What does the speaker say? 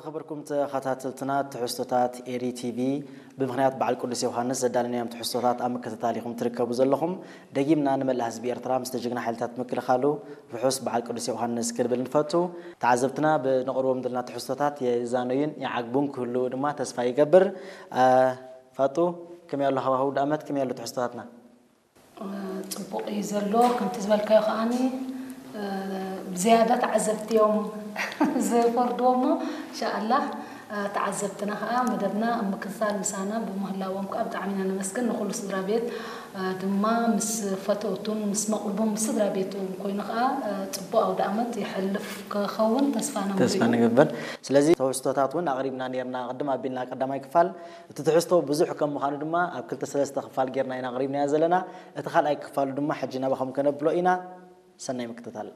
ዝኸበርኩም ተኸታተልትና ትሕዝቶታት ኤሪ ቲቪ ብምኽንያት በዓል ቅዱስ ዮሃንስ ዘዳለናዮም ትሕዝቶታት ኣብ ምክትታል ኢኹም ትርከቡ ዘለኹም። ደጊምና ንመላእ ህዝቢ ኤርትራ ምስቲ ጅግና ሓይልታት ምክልኻሉ ርሑስ በዓል ቅዱስ ዮሃንስ ክንብል ንፈቱ። ተዓዘብትና ብነቕርቦም ዘለና ትሕዝቶታት የዛነዩን ይዓግቡን ክህልዉ ድማ ተስፋ ይገብር። ፋጡ፣ ከመይ ኣሎ ሃዋህው ደኣመት፣ ከመይ ኣሎ ትሕዝቶታትና? ፅቡቕ እዩ ዘሎ። ከምቲ ዝበልካዮ ከዓኒ ብዝያዳ ተዓዘብቲ እዮም ዝፈርድዎ እሞ እንሻኣላህ ተዓዘብትና ከዓ መደብና ኣብ ምክትታል ምሳና ብምህላዎም ከዓ ብጣዕሚ ኢና ነመስግን። ንኩሉ ስድራ ቤት ድማ ምስ ፈተውቱን ምስ መቕርቦም ምስ ስድራ ቤቱ ኮይኑ ከዓ ፅቡቕ ኣውደ ኣመት ይሐልፍ ክኸውን ተስፋና ተስፋ ንግበር። ስለዚ ተውስቶታት እውን ኣቕሪብና ነርና ቅድም ኣቢልና ቀዳማይ ክፋል እቲ ትሕዝቶ ብዙሕ ከም ምዃኑ ድማ ኣብ ክልተ ሰለስተ ክፋል ጌርና ኢና ኣቕሪብናዮ ዘለና። እቲ ካልኣይ ክፋሉ ድማ ሕጂ ናባኹም ከነብሎ ኢና። ሰናይ ምክትታል።